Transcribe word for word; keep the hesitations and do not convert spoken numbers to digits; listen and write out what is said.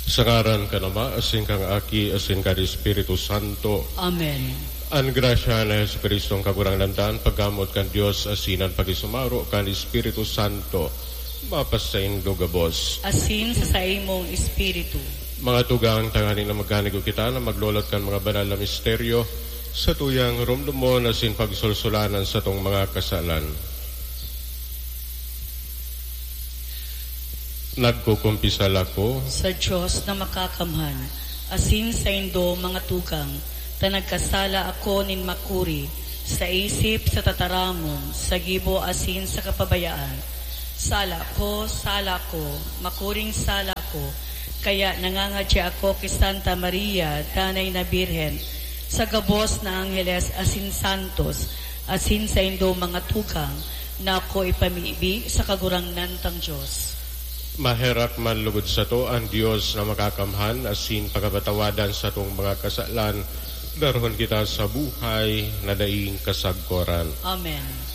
Sa ngaran kan Ama, asin kan Aki, asin kan Espiritu Santo. Amen. An grasya ni Jesu-Cristo, an Kagurangnan ta, an paggamot kan Dios, asin an pakisumaro kan Espiritu Santo, mapasaindo gabos. Asin sa saimong espiritu. Mga tugang, tanganing na magkanigo kita na maglolot kan mga banal na misteryo, sa tuyang romdomon asin pagsulsulan an satong mga kasalan. Nagkukumpisal ako sa Dios na makakamhan, asin saindo, mga tugang, ta nagkasala ako nin makuri, sa isip, sa tataramon, sa gibo, asin sa kapabayaan. Sala ko, sala ko, makuring sala ko, kaya nangangadya ako ki Santa Maria, Danay na Birhen, sa gabos na angheles asin santos, asin saindo, mga tugang, na ako ipamibi sa Kagurangnan tang Dios. Maherak man lugod sato an Dios na makakamhan asin pakapatawadan satong mga kasalan, darahon kita sa buhay na daing kasagkoran. Amen.